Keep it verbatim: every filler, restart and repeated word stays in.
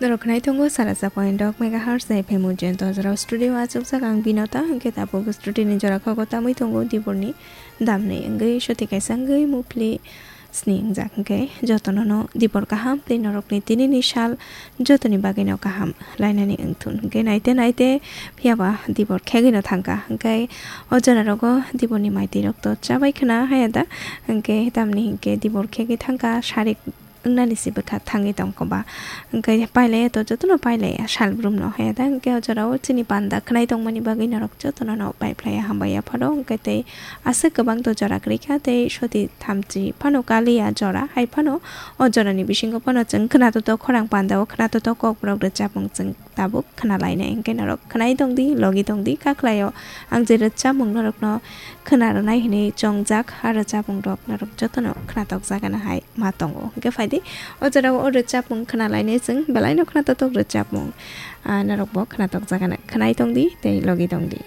Norok khnai tongo sara sa point dok megahertz F M Ujjain Tojra studio achukjak ang Binota, hwnkhe tabuk studio ni jora khago tamwi tongo Diborni damni wngwi soti kaisa wngwi mupli sni wngjak, hwnkhe jotono no Dibor kaham tei norokni tinini sal jotoni bagwino kaham lainani wngthun, hwnkhe naite naite phiyaba Dibor khegwino thangkha, hwnkhe o jora rogo Diborni maitwi rok to chabai khna haya da, hwnkhe tamni hwnkhe Dibor khegwi thangkha sarik wngnani se bwkha thangwi tongkha ba. Hwnkhe pailaiya to jotono pailaiya sal brumno haya da. Hwnkhe o jorao chini panda khnai tongmani bagwi norok jotono no paiphlaiya hambai yapharo. Hwnkhe tei aswk kwbang to jora kwrwikha tei soti thamchi phano kaliya jora. Hai phano o jorani bisingo phano chwng khna toto khorang pandao khna toto kokborok rwchapmung chwng tabuk khna lainai. Hwnkhe norok khnai tongdi, logi tongdi, kakhlaio ang je rwchapmung norokno khna rwnai hinwi chongjak. A rwchapmung rok norok jotono khna tokjagana hai ma tongo. Hwnkhe phaidi, o jorao o rwchapmung khna lainai chwng, belaino khna totok rwchapmung. Ah, norokbo khna tokjagana. Khnai tongdi tei logi tongdi.